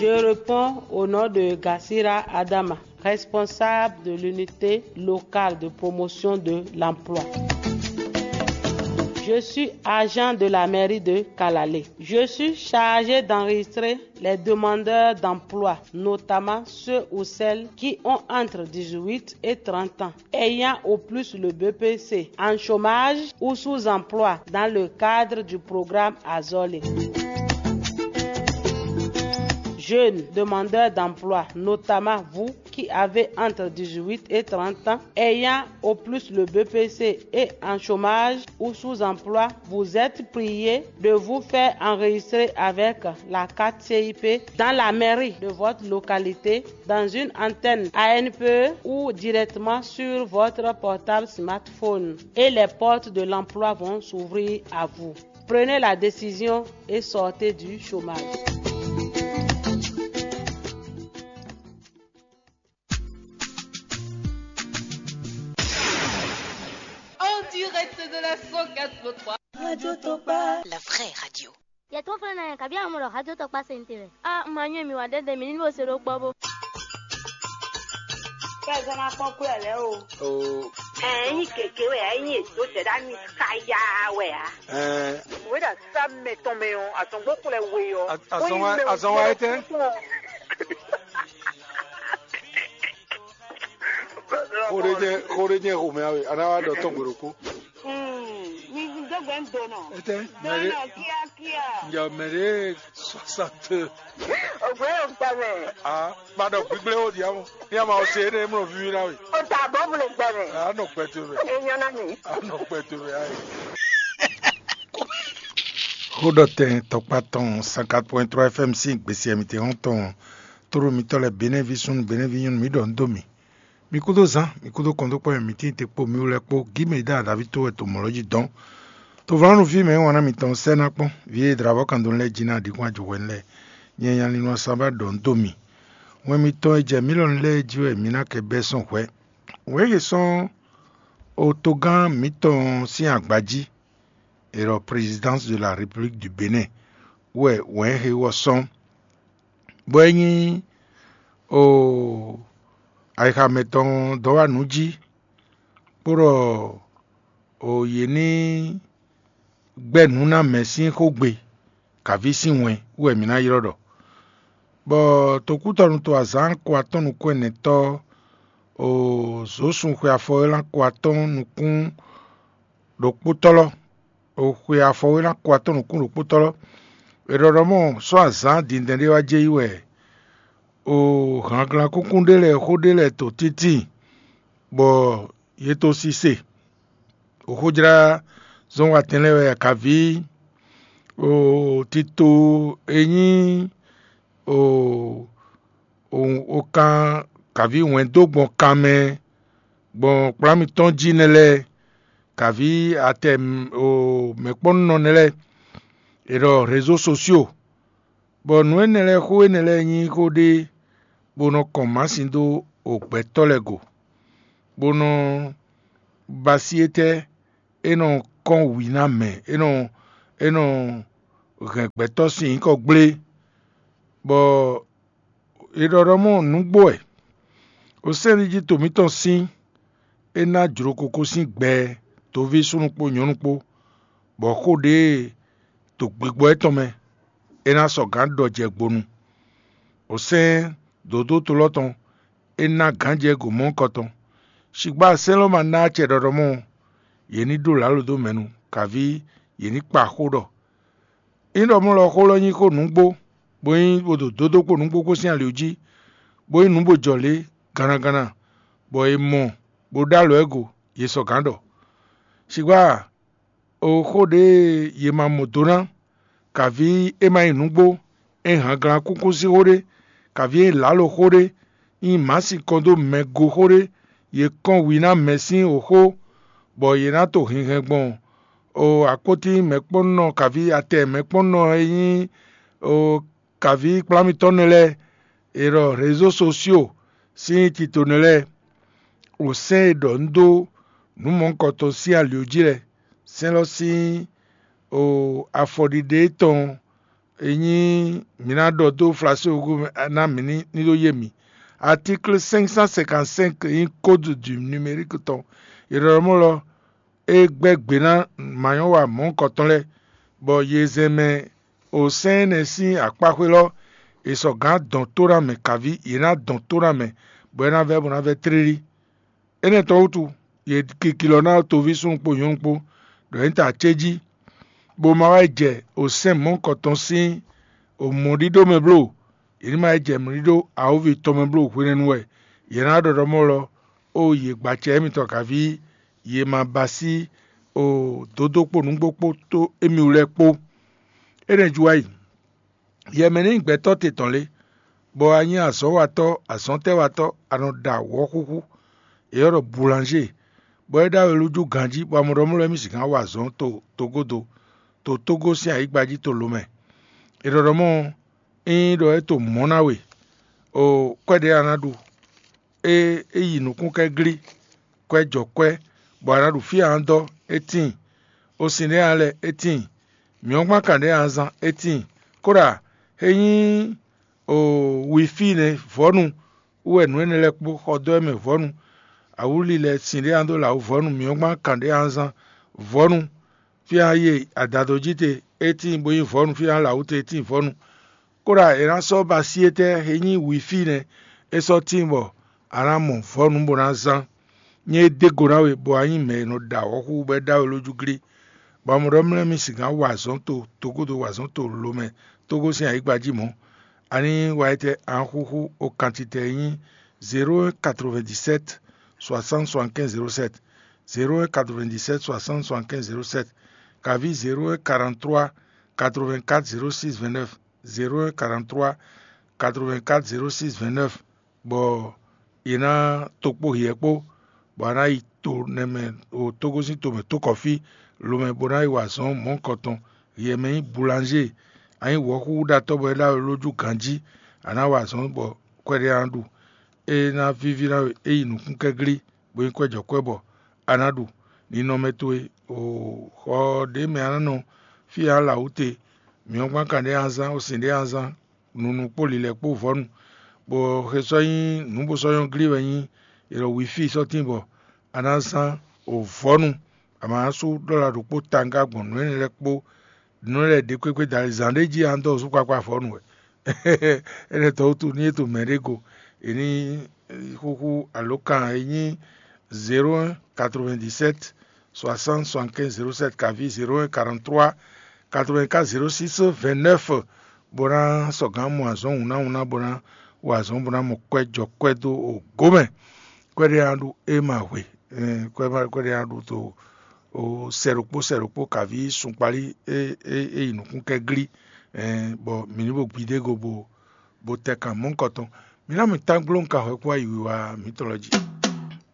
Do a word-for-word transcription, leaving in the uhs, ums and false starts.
Je réponds au nom de Gasira Adama, responsable de l'unité locale de promotion de l'emploi. Je suis agent de la mairie de Kalalé. Je suis chargé d'enregistrer les demandeurs d'emploi, notamment ceux ou celles qui ont entre dix-huit et trente ans, ayant au plus le B P C, en chômage ou sous-emploi dans le cadre du programme Azole. Jeunes demandeurs d'emploi, notamment vous qui avez entre dix-huit et trente ans, ayant au plus le B P C et en chômage ou sous-emploi, vous êtes priés de vous faire enregistrer avec la carte C I P dans la mairie de votre localité, dans une antenne A N P E ou directement sur votre portable smartphone. Et les portes de l'emploi vont s'ouvrir à vous. Prenez la décision et sortez du chômage. En direct de la cent quatre point trois. Radio Tokpa. La vraie radio. Yɛ tɔn fɛnɛ na yɛ kabi amɔ ɖɔ hajɔ tɔ kpa sɛn te wɛ. A ma nyɔ mi wa dɛdɛ mi ni bo se ɖo kpɔ bo. Kɛ zɔn na kpɔn kú ɛ lɛ o. O. Ɛ nyi keke wɛ ɛ nyi edo tɛ ɖa mi kaya wɛ a. Ɛ. Wɛ ɖa sa mɛ tɔn mɛ ɔ, azɔngbɔ kplɛ we ɔ. Azɔn wa etɛ. Xó ɖé jẹ́ xó ɖé jẹ́ xomɛ awe, a ná wá ɖɔ tɔn gbe ɖokpó. Mi dó gbɛ ń do nɔ. Etɛ, mɛ ɖé. Dɔnɔ kíákíá. Njɛ mɛ ɖé soixante. Ògbé yóò gbà mɛ. Ah, padà gbígbé ó di àwọn. Ní a máa ṣe é ní mọ̀ fífi náà wì. Ó ta bọ́ bùlẹ̀ gbà mɛ. A nɔ pẹ̀tù rẹ̀. Èèyàn náà mi. A nɔ pẹ̀tù rẹ̀ ayé. Xóɖɔtɛn tɔkpá tɔn cent quatre point trois F M sín gbèsè mǐtɛn hɔn tɔn. Tóɖó mitɔ́ lɛ́ɛ Benɛ́ví súnnu Benɛ́ví nyɔ́nu mǐ ɖɔ nǔ dó mì. Mi kúdó zán, mi kúdó kɔndókpɔ́ mɛ mitɛ́ te kpo mi wú lɛ́ɛ kpó gǐ mɛ e dó aɖaví tó wɛ to mɔ̌ lɔ jí dɔn. Tovlánú fí mɛ e wǎn ná mitɔn sɛ́ ná kpɔ́n, vǐ e dlǎvɔ́ kan dó lɛ́ɛ jí ná ɖǐkún ajɔhwɛ́nu lɛ́ɛ, nyɛ nya linlɔn ɔ́ sán bá ɖɔ nǔ dó mi. Wɛn mitɔn e jɛ mǐ lɔn lɛ́ɛ jí wɛ mi ná kɛ bɛ́ sɔ́ hwɛ̌. Wɛ̌n e sɔ́ otogán mǐtɔn sín agba jí, e ɖɔ Présidence de la République du Bénin wɛ wɛ̌n he ɔ́ sɔ́, bɔ é nyí o ayixa mɛtɔn dɔ́ wá nǔ jí, bó ɖɔ o yě ní gbɛ́ nǔ ná mɛ sín xógbe, kǎví sín wɛn wú wɛ mǐ ná ylɔ́ ɖɔ. Bɔ tokútɔnu to azǎn ko atɔ́ɔ́n nukún ɛnɛtɔ́, o zǒsun xwe afɔ e lán ko atɔ́ɔ́n nukún ɖokpótɔ́ lɔ, o xwe afɔ e lán ko atɔ́ɔ́n nukún ɖokpótɔ́ lɔ, è ɖɔ ɖɔ mɔ sɔ́ azǎn dindɛn ɖé wá jɛ yi wɛ, o hanglan kúnkún ɖé lɛ́ɛ xó ɖé lɛ́ɛ to títí, bɔ yě to sise. Xóxójlázɔ́nwatɛn lɛ́ɛ wɛ akaví, o tito e nyí o o kan kǎví wɛn dó gbɔn kan mɛ gbɔn kplá mitɔn jí nɛ́ lɛ́ɛ, kǎví atɛ o mɛ̌kpɔ́nnɔ nɛ́ lɛ́ɛ, è ɖɔ rézo sosio, bɔ nǔ énɛ́ lɛ́ɛ xó énɛ́ lɛ́ɛ nyí xó ɖé bó nɔ kɔn mǎsin dó o gbɛtɔ́ lɛ́ɛ go, bó nɔ ba sí étɛ́ é nɔ kɔn wǐ ná mɛ, é nɔ é nɔ hɛn gbɛtɔ́ sín nyǐkɔ gblé, bɔ è ɖɔ ɖɔ mɔ nǔgbó wɛ. Osɛ́nɖíjí to mǐtɔn sín é ná jlokoko sín gbɛ toví súnnu kpó nyɔ̌nu kpó, bɔ xó ɖě to gbigbɔ étɔn mɛ é ná sɔgǎn ɖɔ jɛ gbonu. Osɛ́n dǒdó to lɔ tɔn é ná gǎnjɛ go mɔ̌hunkɔtɔn. Shigbá sɛ́n lɔ ma ná acɛ ɖɔɖɔmɔ, yě ní ɖó lǎlo dó mɛ nu, kaví yě ní kpa xó ɖɔ. Ényí ɖɔ mɔ̌ lɔ xó lɔ nyí xó nǔgbó, bó nyí bó ɖo dódó kpó nǔgbó kpó sín ali jí, bó nyí nǔ bó jɔ lě gannaganna, bɔ è mɔ bó ɖó alɔ ɛ go, yě sɔgǎn ɖɔ. Shigbá o xó ɖě yě ma mɔ do ná, kaví é ma nyí nǔgbó, é hanglan kúnkún sín xó ɖé, kaví é nyí lǎlo xó ɖé, nyí mǎ sin kɔn dó mɛ go xó ɖé, yě kɔn wǐ ná mɛ sín wǒxó, bɔ yě ná to hinhɛn gbɔn o akpótín mɛ̌kpɔ́nnɔ kaví atɛ mɛ̌kpɔ́nnɔ e nyí o kaví kplá mitɔn nɛ́ lɛ́ɛ, è ɖɔ rézo sosio sín tito nɛ́ lɛ́ɛ, o sɛ́n e ɖɔ nǔ dó nǔ mɔ̌hunkɔtɔn sín ali jí lɛ́ɛ, sɛ́n lɔ sín o afɔɖiɖe tɔn e nyí mǐ ná ɖɔ dó flasógo mɛ ná mǐ ní ní ɖó yé mǐ. Article cinq cent cinquante-cinq nyí code du numérique tɔn. È ɖɔ ɖɔ mɔ̌ lɔ é gbɛ́ gbe ná manyɔ́wa mɔ̌hunkɔtɔn lɛ́ɛ, bɔ yě zɛn mɛ o sɛ́n énɛ́ sín akpáxwé lɔ è sɔgǎn dɔn tó ná mɛ kaví; yě ná dɔn tó ná mɛ, bɔ é ná vɛ́ bó ná vɛ́ tlílí. Énɛ́ tɔn wútu, yě kiki lɔ ná toví súnnu kpó nyɔ̌nu kpó, ɖɔ é nyí ta acéjí, bó ma wá yi jɛ o sɛ́n mɔ̌hunkɔtɔn sín o mɔ̌ɖíɖó mɛ bló; yě ní ma yi jɛ mɔ̌ɖíɖó awǒvi tɔn mɛ bló hwenɛ́nu wɛ. Yě ná ɖɔ ɖɔ mɔ̌ lɔ ó yě gbacɛ émítɔn kaví; yě ma ba sí o dǒdó kpó nǔgbó kpó tó émí wú lɛ́ɛ kpó. Énɛ́ jí wá yi, yɛ mɛ ní nyí gbɛtɔ́ te tɔn lé, bɔ a nyí azɔ̌watɔ́, azɔ̌tɛ́watɔ́, a nɔ ɖa wɔ̌xúxú, è ɔ́ ɖɔ boulangé, bɔ é ɖó awelújú ganjí, bɔ a mɔ ɖɔ mɔ̌ lɔ émí sixá wa azɔ̌ to togódo, to Tógó sín ayǐgba jí to lo mɛ. È ɖɔ ɖɔ mɔ̌ ɔ́, ényí ɖɔ é to mɔ̌ ná we, o kwɛ́ ɖě a ná ɖu, é é yi nǔkún kɛ́glí, kwɛ́ jɔ kwɛ́, bɔ a nǎ ɖu fí a nǎ dɔ́, é tíin; osin ɖé a nǎ lɛ, é tíin; mǐ ɔ́ gban kan ɖě a nǎ zán, é tíin; kóɖa é nyí o wifí nɛ́ vɔ̌nu wú wɛ nǔ énɛ́ lɛ́ɛ kpó xɔ dó wɛ mɛ vɔ̌nu; awǔli lɛ́ɛ sin ɖé a nǎ dó lɛ awǔ vɔ̌nu; mǐ ɔ́ gban kan ɖě a nǎ zán vɔ̌nu; fí a nǎ yi adado jí te, é tíin bó nyí vɔ̌nu; fí a nǎ lɛ awǔ te, é tíin vɔ̌nu. Kóɖa è nǎ sɔ́ ba sí étɛ́ e nyí wifí nɛ́; é sɔ́ tíin bɔ a nǎ mɔ vɔ̌nu bó ná zán. Nyɛ e dó go ná we, bɔ a nyí mɛ e nɔ ɖa wɔ̌xúxú bɔ é ɖó we lójú glí, bɔ a mɔ ɖɔ mlɛ́ mì sixá wa azɔ̌ to togódo wa azɔ̌ to lo mɛ tógó sín ayǐgba jí mɔ̌. Ani wa etɛ́ a nǎ xúxú o kantitɛ e nyí zéro un quatre-vingt-dix-sept soixante soixante-quinze zéro sept, zéro un quatre-vingt-dix-sept soixante soixante-quinze zéro sept, kaví zéro un quarante-trois quatre-vingt-quatre zéro six vingt-neuf, zéro un quarante-trois quatre-vingt-quatre zéro six vingt-neuf, bɔ è nǎ tokpó hiɛ kpó, bɔ a nǎ yi to nɛmɛ o tógózín tomɛ tókɔfí lomɛ bó ná yi wa azɔ̌ mɔ̌hunkɔtɔn. Hiɛ mɛ nyí boulangé, a nyí wɔ̌xúxúɖatɔ́ bɔ é ɖó alɔ lójú ganjí, a nǎ wa azɔ̌ bɔ kwɛɖé a nǎ ɖu. É ná víví ná we é yi nǔkúnkɛ́glí, bó nyí kwɛ́jɔkwɛ́ bɔ a nǎ ɖu. Ninɔmɛ towe o xɔ ɖě mɛ a nǎ nɔ, fí e a nǎ lɛ awǔ te, mǐ ɔ́ gban kan ɖěe a nǎ zán, o sin ɖěe a nǎ zán, nunu kpó lilɛ kpó vɔ̌nu, bɔ xe sɔ́ nyí nǔ bó sɔ́ nyɔ́ glí wɛ nyí è ɖɔ wifí sɔ́ tíin bɔ a nǎ zán o vɔ̌nu, a ma nǎ sú ɖɔla ɖokpó tanga gbɔn nǔ énɛ́ lɛ́ɛ kpó nǔ lɛ́ɛ ɖě kpékpé dali zǎn ɖé jí a nǎ dɔ zú kpakpa vɔ̌nu wɛ. Énɛ́ tɔn wútu ní é to mɛ ɖé go, è ní xúxú alǒkan e nyí zéro un quatre-vingt-dix-sept soixante soixante-quinze zéro sept kaví zéro un quarante-trois quatre-vingt-quatre zéro six vingt-neuf, bó ná sɔgǎn mɔ azɔ̌ hǔnnáhúnná bó ná wa azɔ̌ bó ná mɔ kwɛ́ jɔ kwɛ́ dó o gǒ mɛ. Kwɛ́ ɖé a ɖu é ma hwe, kwɛ́ ɖé a ɖu to o sɛ ɖokpó sɛ ɖokpó kaví sunkpalí é é é yi nǔkún kɛ́ glí, bɔ mǐ ní bo gbidé go bo bo tɛ kan mɔ̌hunkɔtɔn. Mǐ ná mì tán gbló un ka hwɛ kpó ayi wiwa mǐtɔn lɔ jí.